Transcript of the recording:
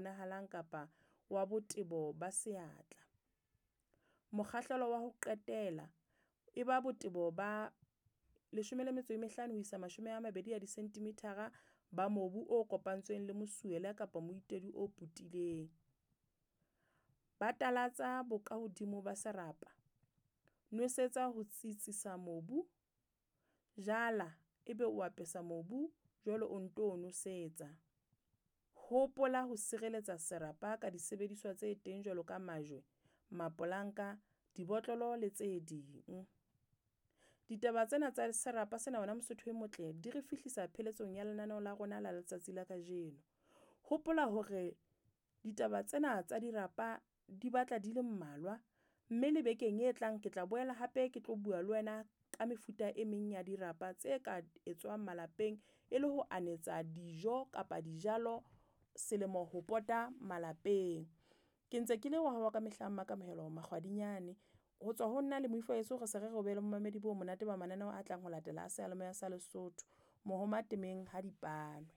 bonahalang kapa wa botebo ba seatla. Mokgahlelo wa ho qetela e ba botebo ba 15 ho isa 20 ya disenthimithara ba mobu o kopantsweng le mosuwela kapa moitedi o putileng. Batalatsa bokahodimo ba serapa, nwesetsa ho tsitsisa mobu, jala, ebe o apesa mobu jwale o nto nosetsa. Hopola ho sireletsa serapa ka disebediswa tse teng jwalo ka majwe, mapolanka, dibotlolo le tse ding. Ditaba tsena tsa serapa sena wena Mosotho e motle di re fihlisa pheletsong ya lenaneo la rona la letsatsi la kajeno. Hopola hore ditaba tsena tsa dirapa di batla di le mmalwa, mme le bekeng e tlang ke tla boela hape ke tlo bua le wena ka mefuta e meng ya dirapa tse ka etswang malapeng e le ho anetsa dijo kapa dijalo selemo ho pota malapeng. Ke ntse ke le wa hao ka mehla Makamohelo Makgwadinyane. Ho tswa ho nna le moifo wa heso re se re re o be le momamedi bo monate ba mananeo a tlang ho latela a seyalemoya sa Lesotho. Mohoma temeng ha dipanwe.